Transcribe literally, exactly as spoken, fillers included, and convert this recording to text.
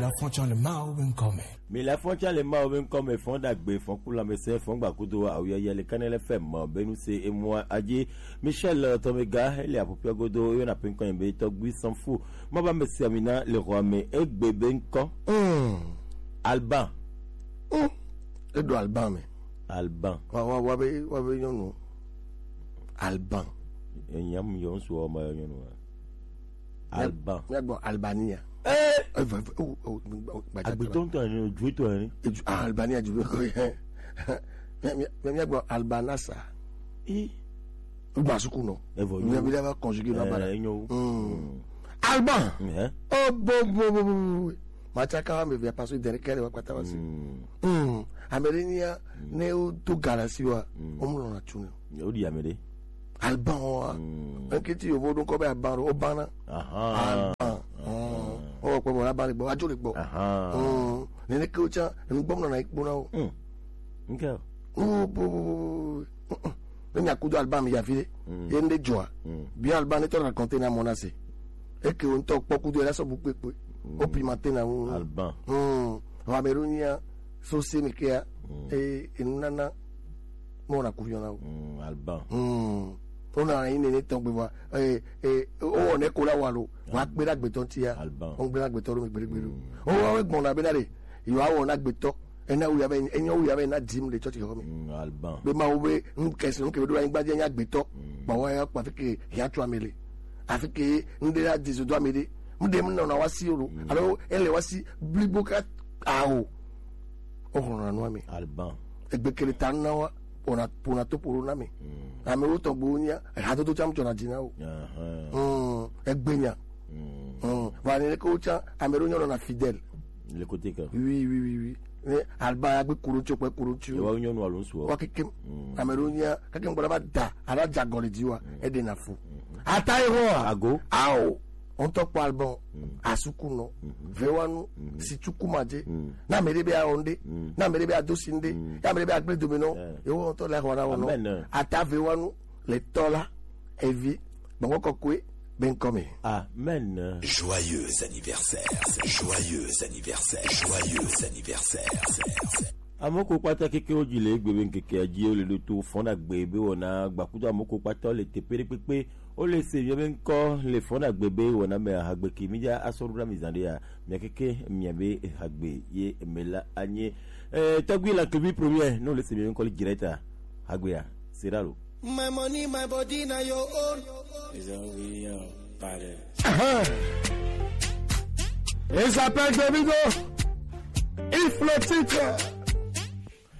Afɔtsa le Mawu be ŋkɔ me. Mi le afɔtsa le Mawu be ŋkɔ me, fɔn ɖagbe, fɔn kulamɛsɛ, fɔn gbakudo, awuyaya le Kanɛlɛ fɛ mɔ, benu se emua adzi. Michel, eh, Tɔmega, ele aƒuƒua godo, yɔna pe ŋkɔ be Tɔgbi Sanfu. Maba me sia mina le xɔa me, egbe be ŋkɔ. Mm. Alban. Mm. Eɖo Alban me. Alban. Wa, wa, wa be, wa be nyɔnu. Alban. Enyam yɔ ŋsu wa ma yɔ nyɔnu wa. Alban. Míagbɔ Albania. Eh! Eh, va, va, oh, oh, oh, gbadza. Agbetɔ ŋutɔ ene, dzuetɔ ene. Edu-, ah, Albania du be ko ye. Mía, mía, míagbɔ Albanasa. Eh. Gba suku nɔ. Evɔ, mía yo. Bi ɖe va conjuguer nɔ ba la. Eh, enyo. Mm. Mm. Alban. Eh. Oh, bo, bo, bo, bo, bo. Matsaka wa me via paso dere kere wa kpata wa si. Mm. Mm. Ame ɖe nyia, ne wodo ga ɖe asi wa, mm, womlɔna tu nɛ. Woɖi ame ɖe. Alban wa. Mm. Eŋketi yovo ɖo ŋkɔ be Alban ɖo, wobana. Aha. Alban. Aha. Mm. Wowɔ kpɔ bɔ, Alban le gbɔ, adzo le gbɔ. Aha. Mm. Neneke wo tsã, enu gbɔm nɔna yi kpona wo. Mm. Ŋke. Oh, bo, bo, bo, bo, bo. Mm, mm. Ne miaku do Alban mi yi afi ɖe, mm, ye ŋɖe dzɔa, mm, bia Alban ne tɔ raconter na mɔ na se. Eke wo ŋutɔ kpɔ kudo ye la sɔ bu kpekpe. Mm. Wo pimenter na ŋu. Alban. Mm. Vɔ ame ɖewo nyia, so se me kea, mm, e, enunana, mɔ na ku yɔ na wo. Mm, Alban. Mm. Wona yi nene tɔgbe vɔ, e, e, wowɔ ne ko la wa lo, wa kpe ɖe agbetɔ ŋutia, Alban. Wogblẽ agbetɔ ɖo mi gbeɖegbeɖe. Mm. Wowa wo gbɔna be na ɖe, yewoawɔ na agbetɔ, ena wu ya be, enyo wu ya be na dim le tsɔtsi xɔ me. Mm, Alban. Be Mawu be nu kesi nu ke be ɖo anyigba dzi nya agbetɔ. Mm. Ba wa ya kpa fi ke ya tso ame le. Afi ke nu ɖe la di zo do ame ɖe. Mu ɖe mu nɔna wa si o lo. Mm. Alo ele wa si blibo ka awo. O xɔna nu ame. Alban. Egbe kele ta na wa, ona, pona to poro na me. Mm. Ame wo tɔgbo nya, hadodo tsam tsɔna dzi na wo. Aha. Mm. Egbe nya. Mm. Mm. Va ne ko tsã, ame ɖewo nyɔna fidèle. Le côté que. Oui, oui, oui, oui. Ne Alban ya gbe kuro tso kpe kuro tso. Yewoawo nyɔnu alo ŋsuwo. Wa kekem. Mm. Ame ɖewo nya, kekem gbɔdɔ va da, ala dza gɔli dzi wa, mm, eɖe na fu. Mm. Ata ye ho. Ago. Ao. Ŋutɔ kpɔ Alban. Mm. Asuku nɔ. Mm. Vewanu. Mm. Sitsuku madze. Mm. Na ame ɖe be awɔ ŋɖe. Mm. Na ame ɖe be ado si ŋɖe. Mm. Ya ame ɖe be agble dome nɔ. Yeah. Yewo ŋutɔ le xɔ na wo nɔ. Amen. Ata Vewanu le tɔ la. Evi. Gbɔngbɔ kɔkɔe be ŋkɔ me. Amen. Joyeux anniversaire. Joyeux anniversaire. Joyeux anniversaire. Ame ko kpata kekewo dzi le egbe be ŋkekea dzi wole ɖo to fɔn ɖagbe be wɔna gbakudo ame ko kpata le teƒe ɖe kpekpe. Wole se mia be ŋkɔ le fɔn ɖagbe be wɔna me hagbe ke mi dza asɔ ɖo na mi zã ɖe ya. Mia keke mia be hagbe ye me la anye. Eh, tɔgbi la kevi premier, no le se mia be ŋkɔ le direct a. Hagbe ya. C'est là lo. My money, my body, now your own. It's only your body. Uh-huh. Il s'appelle Davido. Il faut le titre.